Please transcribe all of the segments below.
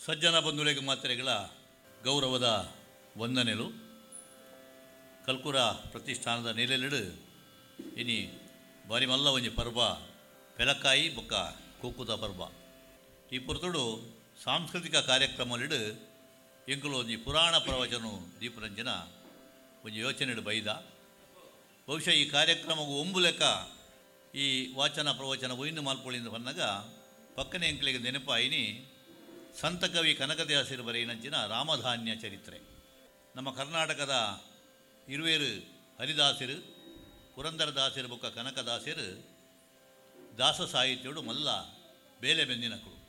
ಸಜ್ಜನ ಬಂಧುಲೆಗ್ ಮಾತ್ರೆಗಳ ಗೌರವದ ವಂದನೆಲು. ಕಲ್ಕುರ ಪ್ರತಿಷ್ಠಾನದ ನೆಲೆಲೆಡು ಇನಿ ಬಾರಿ ಮಲ್ಲ ಒಂಜಿ ಪರ್ಬ ಪೆಲಕಾಯಿ ಬೊಕ್ಕ ಕೂಕುದ ಪರ್ಬ. ಈ ಪೊರ್ತುಡು ಸಾಂಸ್ಕೃತಿಕ ಕಾರ್ಯಕ್ರಮಲೆಡು ಎಂಕುಲು ಒಂಜಿ ಪುರಾಣ ಪ್ರವಚನ ದೀಪರಂಜನ ಒಂಜಿ ಯೋಚನೆಡು ಬೈದ. ಬಹುಶಃ ಈ ಕಾರ್ಯಕ್ರಮವು ಒಂಬುಲೆಕ ಈ ವಾಚನ ಪ್ರವಚನ ಒಯ್ನು ಮಾಲ್ಪೊಳಿಂದ ಬಂದಾಗ ಪಕ್ಕನೆ ಎಂಕಲಿಗೆ ನೆನಪಾಯಿನಿ ಸಂತಕವಿ ಕನಕದಾಸರು ಬರೆಯಿನಂಚಿನ ರಾಮಧಾನ್ಯ ಚರಿತ್ರೆ. ನಮ್ಮ ಕರ್ನಾಟಕದ ಇರುವೇರು ಹರಿದಾಸರು, ಪುರಂದರದಾಸರು ಬೊಕ್ಕ ಕನಕದಾಸರು ದಾಸ ಸಾಹಿತ್ಯಡು ಮಲ್ಲ ಬೇಲೆ ಬೆಂದಿನಕುಳು.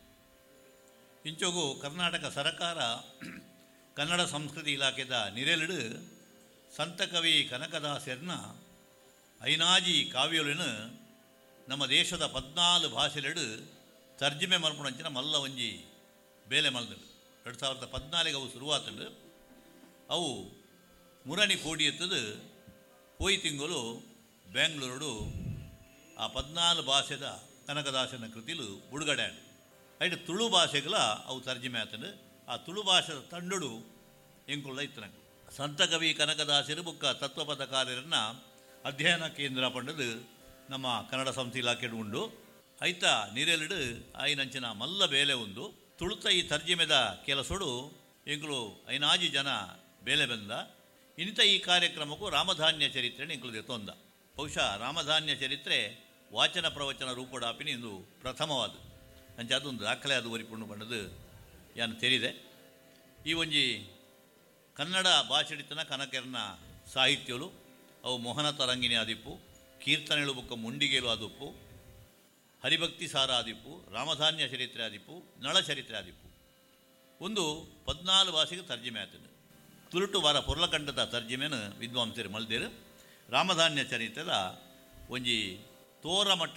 ಇಂಚೊಗು ಕರ್ನಾಟಕ ಸರಕಾರ ಕನ್ನಡ ಸಂಸ್ಕೃತಿ ಇಲಾಖೆದ ನಿರೆಲಿಡು ಸಂತಕವಿ ಕನಕದಾಸರನ್ನ ಐನಾಜಿ ಕಾವ್ಯಲಿನ ನಮ್ಮ ದೇಶದ 14 ಭಾಷೆಲೆಡು ತರ್ಜುಮೆ ಮಲ್ಪುನಂಚಿನ ಮಲ್ಲ ಒಂಜಿ ಬೇಲೆ ಮಲ್ದಳು. 2014 ಅವು ಶುರುವಾತಳು. ಅವು ಮುರಣಿ ಕೋಡಿ ಎತ್ತದು ಪೋಯಿ ತಿಂಗಳು ಬೆಂಗಳೂರು ಆ 14 ಭಾಷೆದ ಕನಕದಾಸನ ಕೃತಿಲು ಬಿಡುಗಡೆ ಆಂಡ್. ಐಟ್ ತುಳು ಭಾಷೆಗಳ ಅವು ತರ್ಜುಮೆ ಆತಂಡು. ಆ ತುಳು ಭಾಷೆದ ತಂಡಡು ಎಂಕುಲ್ಲ ಇತ್ತನಕು ಸಂತಕವಿ ಕನಕದಾಸರು ಬುಕ್ಕ ತತ್ವಪದಕಾರರನ್ನ ಅಧ್ಯಯನ ಕೇಂದ್ರ ಪಂಡದು ನಮ್ಮ ಕನ್ನಡ ಸಂಸ್ಥೆ ಇಲಾಖೆ ಉಂಡು. ಐತ ನಿರೆಲಿಡು ಆಯಿನಂಚಿನ ಮಲ್ಲ ಬೇಲೆ ಉಂದು. ತುಳುತ ಈ ತರ್ಜಿಮೆದ ಕೆಲಸೋಡು ಎಂಕುಲು ಐನಾಜಿ ಜನ ಬೇಲೆ ಬಂದ. ಇಂಥ ಈ ಕಾರ್ಯಕ್ರಮಕ್ಕೂ ರಾಮಧಾನ್ಯ ಚರಿತ್ರೆ ಎಂಕುಲು ದೆತ್ತೊಂದ. ಬಹುಶಃ ರಾಮಧಾನ್ಯ ಚರಿತ್ರೆ ವಾಚನ ಪ್ರವಚನ ರೂಪಡಾಪಿನ ಇಂದು ಪ್ರಥಮವಾದ ಅಂಚ ಅದೊಂದು ದಾಖಲೆ ಅದು ಒರಿಪುಂಡು ಬಂಡದು ಯಾನು ತೆರಿದೆ. ಈ ಒಂಜಿ ಕನ್ನಡ ಭಾಷೆಡಿತನ ಕನಕೆರ್ನ ಸಾಹಿತ್ಯಲು ಅವು ಮೋಹನ ತರಂಗಿಣಿ ಆದಿಪ್ಪು, ಕೀರ್ತನೆಳು ಬುಕ್ಕ ಮುಂಡಿಗೇಲು ಆದಿಪ್ಪು, ಹರಿಭಕ್ತಿ ಸಾರ ಆದಿಪ್ಪು, ರಾಮಧಾನ್ಯ ಚರಿತ್ರೆ ಆದಿಪ್ಪು, ನಳ ಚರಿತ್ರೆ ಆದಿಪ್ಪು. ಒಂದು 14 ಭಾಷೆಗೆ ತರ್ಜುಮೆ ಆತನು. ತುಳುಟು ವಾರ ಪೊರ್ಲಕಂಡದ ತರ್ಜುಮೆನು ವಿದ್ವಾಂಸರು ಮಲ್ದೇರು. ರಾಮಧಾನ್ಯ ಚರಿತ್ರೆದ ಒಂಜಿ ತೋರ ಮಟ್ಟದ